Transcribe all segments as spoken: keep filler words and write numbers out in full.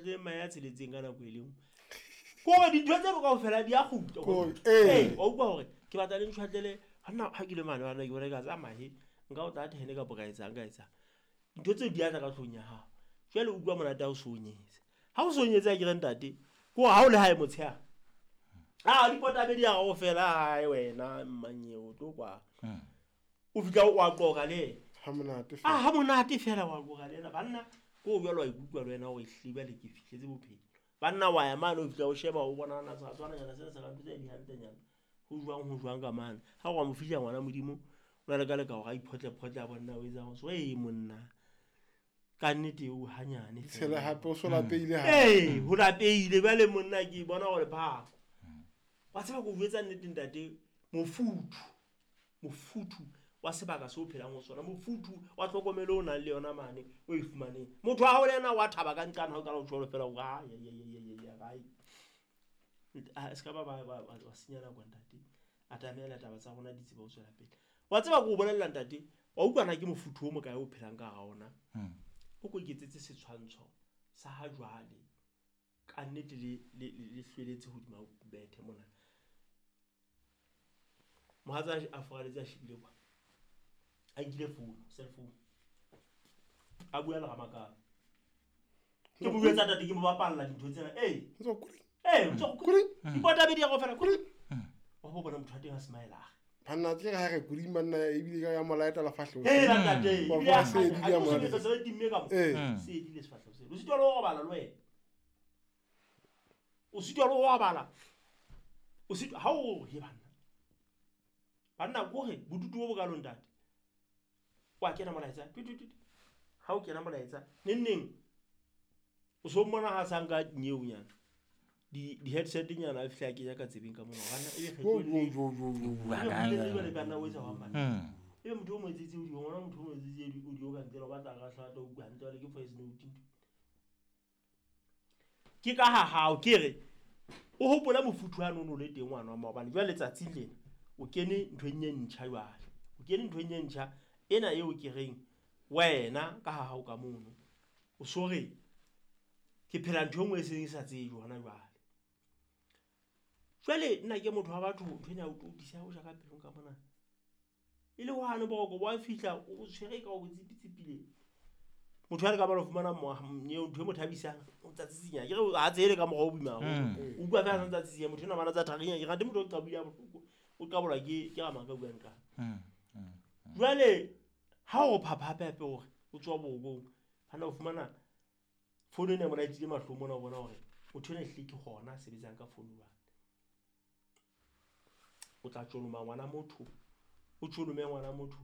ntshwatlele mae a tsheletseng ka nako e le nngwe. Ke hore dintho tseno kaofela di a kgutla. Ko- ee. Ee, wa utlwa hore ke batla le ntshwatlele hanna ha ke le mane bana ke bona ka tsa mahe nka o tla ten kapa ka etsang ka etsang. Dintho tseo di a tla ka tlung ya hao. Jwale o utlwa monate ha o so o nyetse. Ha o so o nyetse akere ntate, ke hore ha o le hae motshehare. Ah, dipotabedi ya hao fela hae wena mmanyeo o tlo kwa. O fihla o a qoqa le yena. Ha monate Ah, fela. ha monate fela wa qoqa le yena. Banna ko o jwalo wa ikutlwa le wena hore ehlile jwale ke fihletse bophelo. Banna wa ya mane o fihla o sheba o bona na seratswananyana sena sa ka ntho tse di hantlenyana. Ho jwang ho jwang ka mane. Ha o wa mo fihla ngwana Modimo, o na le ka leka hore a iphotle-photle a bona o etsang. So ee monna. Ka nnete o hanyane Tshela fela. hape o so lapehile hape. Ee, ho lapehile jwale monna ke bona hore phako. Wa tseba ke o jwetsa nnete ntate, mofuthu, mofuthu wa sebaka seo o phelang ho sona, mofuthu wa tlhokomelo o nang le yona mane o e fumaneng. Motho wa hao le yena wa thaba ka nqane ha o qala ho tjho fela hore, ah, ya, ya, ya, ya, ya, ya, ai. Ah, se ka ba ba, ba, ba, ba senya nako ntate. A tamela taba tsa rona di tseba ho tswela pele. Wa tseba ke o bolella ntate, wa utlwa na ke mofuthu o mokae o phelang ka hara ona. Hmm. O ko iketsetse setshwantsho sa ha jwale. Ka nnete le, le, le, le hlweletse hodima bethe mona. Mohatsa a furaletse a shebile kwa. A nkile phone, cell phone. A bua le Ramakapa. Ke mo jwetsa ntate ke mo bapalla dintho tsena. Ee. O tswa kuri. Ee, o tswa Kuri. Dipotabedi ya kaofela, kuri. Wa bo bona motho wa teng a smile. Banna tje ha re kuri manna ebile ka ya molaeta la fahleho. Hela ntate, Wa ebile a bona se kganya. di Ha ya ke molaeta. sebetsa se timme ka mo. Ee. Se edile sefahleho seo. O sitwa le ho robala le wena. O sitwa le ho robala. O sitwa ha o he banna. Banna ko re bodutu bo bokalo ntate. Wa kena molaetsa. Tu, tu, tu, tu. Ha o kena molaetsa, neng neng o so mmona ha sa nka nyeonyana. Di, di headset nyana a fihla a kenya ka tsebeng ka mona. Banna ebe Jo, kgetho jo, le jo, jo, jo. Bua Ebe ka kgetho le eng? jwale banna o etsa hwang banna? Hmm. Ebe motho o mo etsetse audio, ngwana motho o mo etsetse audio ka ntle, o batla ka hlata, o utlwa hantle, jwale ke voice note ntho. Ke ka ha hao ke re o hopola mofuthu wa nono le teng ngwana wa maobane. Jwale letsatsing lena o kene nthong e ntjha jwale. O kene nthong e ntjha ena eo ke reng wena ka ha hao ka mono o so re ke phela ntho e nngwe e seng e sa tsejwe hona jwale. Jwale nna ke motho wa batho, ntho ena ya o totisa o ja ka pelong ka mona. E le hwane boroko bo a fihla o tshwere ka o tsipitsipile. Motho a le ka ba lo fumana mo-, ntho e mo thabisang, o ntsa tsitsinya. Ke re ha tsele ka mokgwa o boima haholo. Mm. O utlwa fela a ntsa tsitsinya, motho enwa bana tsa tharinya. Ke rate motho o qabile ha bohloko, o qabolwa ke, ke Ramaka a buang ka. Mm. Mm. Jwale ha o phapha hape hape hore o tswa borokong, ha na o fumana founu ena e mo laetile mahlong mona, o bona hore motho enwa ehlile ke hona a sebetsang ka founu jwale. O tla tjoloma ngwana motho, o tjolome ngwana motho.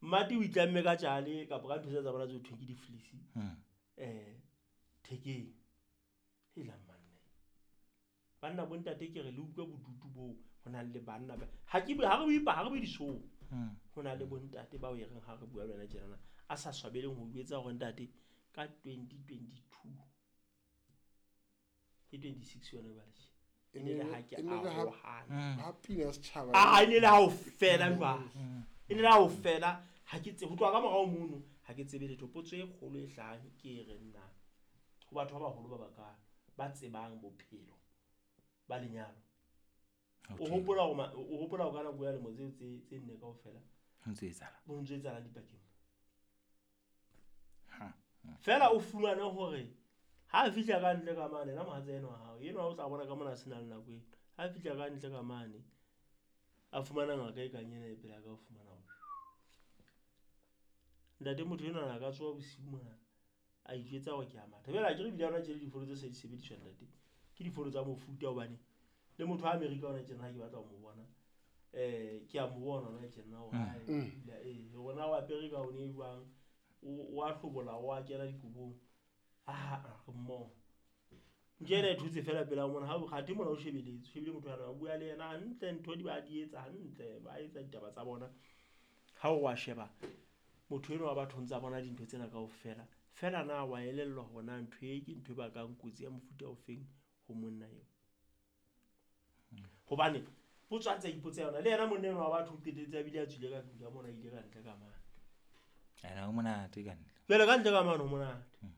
Mmati o itlamme ka tjale kapa ka ntho tse tsa bona tse ho thweng ke di-fleece. Hmm. Eh, thekeng. Hela manne. Banna bo ntate ke re le utlwe bodutu boo ho nang le banna ba. Ha ke bue, ha re bue pa, ha re bue dishow. Hmm. Ho na le bo ntate bao e reng ha re bua le wena tjenana, a sa swabeleng ho jwetsa hore ntate ka twenty twenty-two ke twenty-six yona jwale tje. E ne le ha ke E ne le ha arohana. Hmm. Ha pina ya setjhaba. Ah, e ne le ha o fela jwale. Hmm. E ne le ha o fela, ha ke tsebe, ho tloha ka morao mono, ha ke tsebe letho. Potso e kgolo e hlahang ke e reng na, ho batho ba baholo ba bakalo, ba tsebang bophelo ba lenyalo. O Okay. hopola hore ma-, o hopola hore ka nako ya lemo tseo tse, tse nne kaofela, Ho ntse etsahala. ho ntse etsahala dipakeng. Ha. Fela o fumane hore ha a fihla ka ntle ka mane, yena mohatsa enwa wa hao, enwa o tla bona ka mona a se na le nako eno. Ha a fihla ka ntle ka mane, a fumana ngaka e kang ena e pela ka ho fumana hore ntate motho enwa a ka tsoha bosiu mona, a ijwetsa hore ke a matha. Jwale ha ke re ebile ha hona tje le difono tse se di sebediswa ntate, ke difono tsa mofuta hobane le motho wa Amerika hona tjena ha ke batla ho mo bona, eh, ke a mo bona hona tjena hore Mm. ha e, Mm. ebile, eh, hore na o apere ka one e jwang, o, o a hlobola, o a kena dikobong. Ah, ah, re mmoho. Nke ena e thotse fela pela mona, ha o kgathe mona o shebeletse, o shebile motho ana, o bua le yena hantle, ntho di ba di etsa hantle, ba etsa ditaba tsa bona. Ha o wa sheba, motho enwa wa batho o ntsa bona dintho tsena kaofela. Fela na wa elellwa hore na ntho e ke ntho e bakang kotsi ya mofuta ofeng ho monna eo? Hobane potso a ntse a ipotsa yona, le yena monna enwa wa batho o qetelletse a bile a tswile ka tlung ka mona, a ile ka ntle ka mane. Ena ho monate ka ntle. Jwale ka ntle ka mane ho monate. Hmm.